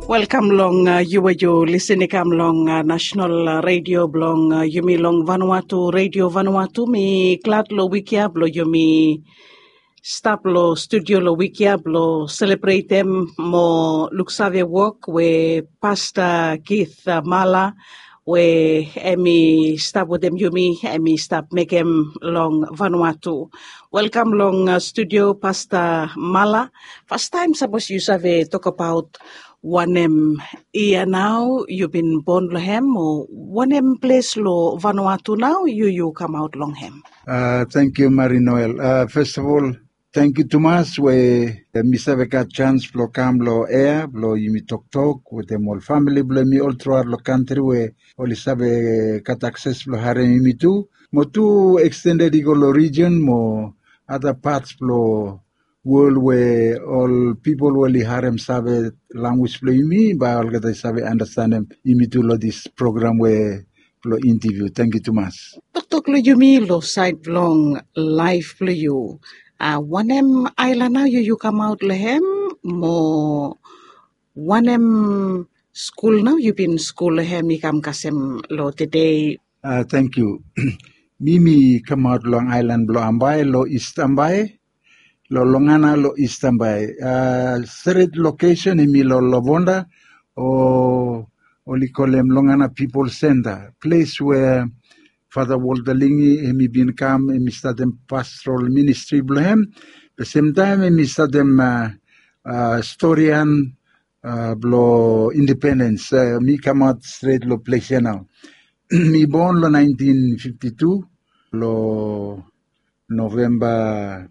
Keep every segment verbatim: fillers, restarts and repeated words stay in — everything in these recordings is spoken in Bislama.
Welkam long yu we yu lisin i kam long nasonal redio blong yumi long Vanuatu, Redio Vanuatu. Mi glad long wik ya blong yumi stap long studio long wik ya blong selebretem mo luksave wok we Pasta Keith Mala we em i stap wetem yumi, em i stap mekem long Vanuatu. Welkam long studio, Pasta Mala. Fastaem, sapos yu save tokbaot wanem yia nao yu bin bon long hem, o wanem ples long Vanuatu nao yu yu kamaot long hem? Tangkiu, Mari Noel. Festivol, tangkiu tumas we mi save gat sans blong kam long ea blong yumi toktok wetem ol famili blong yumi ol truaot long kantri we oli save gat akses blong harem yumi tu, mo tu ekstended i go long rijion mo ada pats blong wol we ol pipol we oli harem save lanwis blong yumi, bae olgeta i save anastenem yumi tu long dis program we blong intaviu. Tangkiu tumas. Toktok long yumi long saed blong laef blong yu. Wanem aelan nao yu yu kamaot long hem, mo wanem skul nao yu bin skul long hem i kam kasem long tede? Tangkiu. Mi mi kamaot long aelan blong Ambae, long Ist Ambae, long Longana, long Ist Ambae. Stret lokesen hemi long Lovonda, o oli kolem Longana Pipol Senta, ples we Fata Walter Lingi hemi bin kam, hemi statem pastoral ministri blong hem. Be semtaem hemi statem storian blong indipendens. Mi kamaot stret long ples ya nao. Mi bon long naentin fifti tu, long Novemba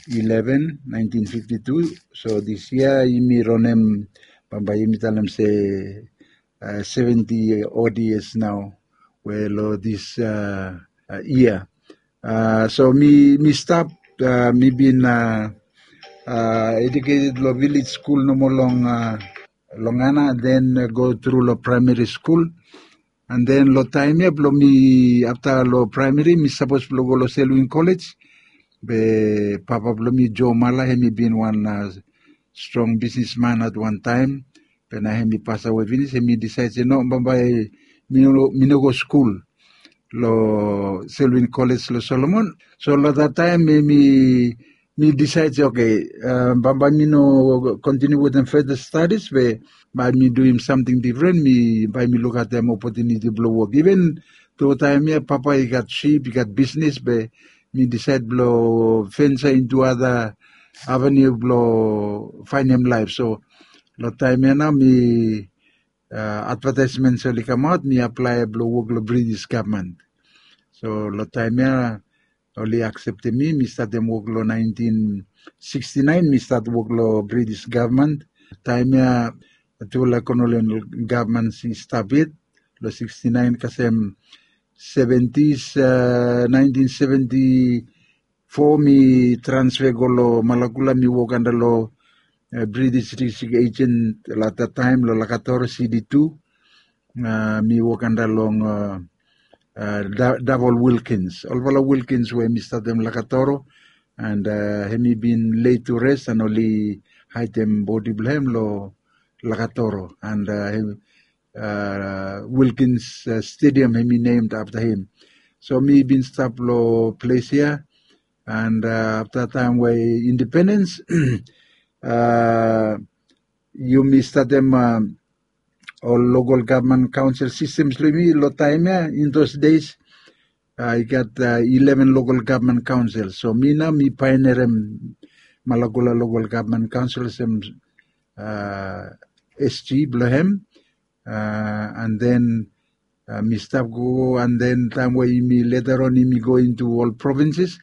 ileven, naentin fifti tu. So dis yia yumi ranem, bambae yumi talem se seventi ot yias nao we long dis yia. So mi mi stap, mi bin ejuketed long vilej skul nomo long Longana, den go tru long praemari skul. An den long taem ya blong mi, afta long praemari mi sapos blong go long Selwyn Kolej, be papa blong mi, Joe Mala, hemi bin wan strong bisnisman at wan taem. Be nao hemi pasawe finis, hemi disaed se no, bambae mi no go skul long Selwyn Kolej long Solomon. So long dat taem mi disaed se oke, bambae mi no kontiniu wetem feta stadis, be bae mi duim samting difren, mi bae mi lukaotem opotuniti blong wok. Iven tu taem ya papa i gat sip, i gat bisnis, be mi disaed blong vensa intu ada aveniu blong faenem laef. So long taem ya nao mi advataesmen oli kamaot, mi aplae blong wok long British gavman. So long taem ya oli akseptem mi, mi statem wok long naentin siksti naen, mi stat wok long British gavman. Taem ya tufala kolonial gavman i stap yet. Long siksti naen kasem seventis, naentin seventi fo mi transfe go long Malakula, mi wok anda long British District Agent long dat taem long Lakatoro, C D two. Mi wok anda long Davol Wilkins. Olfala Wilkins we mi statem Lakatoro, an hemi bin laid to rest an oli haedem bodi blong hem long Lakatoro, an Wilkins Stadium hemi named afta him. So mi bin stap long ples ya, an afta taem we indipendens, yumi statem ol lokol gavman kaonsel sistems blong yumi long taem ya. In those days i gat ileven lokol gavman kaonsel. So mi nao mi paenerem Malakula lokol gavman kaonsel olsem S G blong hem. An den mi stap go, an den taem we yumi leta on yumi go intu ol provinses.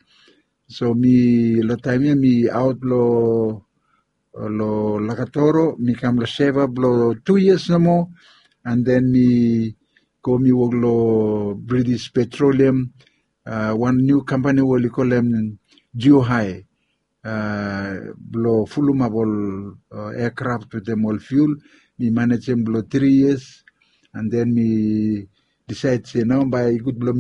So mi long taem ya mi aot long long Lakatoro, mi kam long Seva blong tu yias nomo, an den mi go mi wok long British Petroleum, wan niu kampani we oli kolem Jiuhae, blong fulumap ol eakraf wetem ol fiul. Mi manejem blong tri yias, an den mi disaed se nao bae i gud blong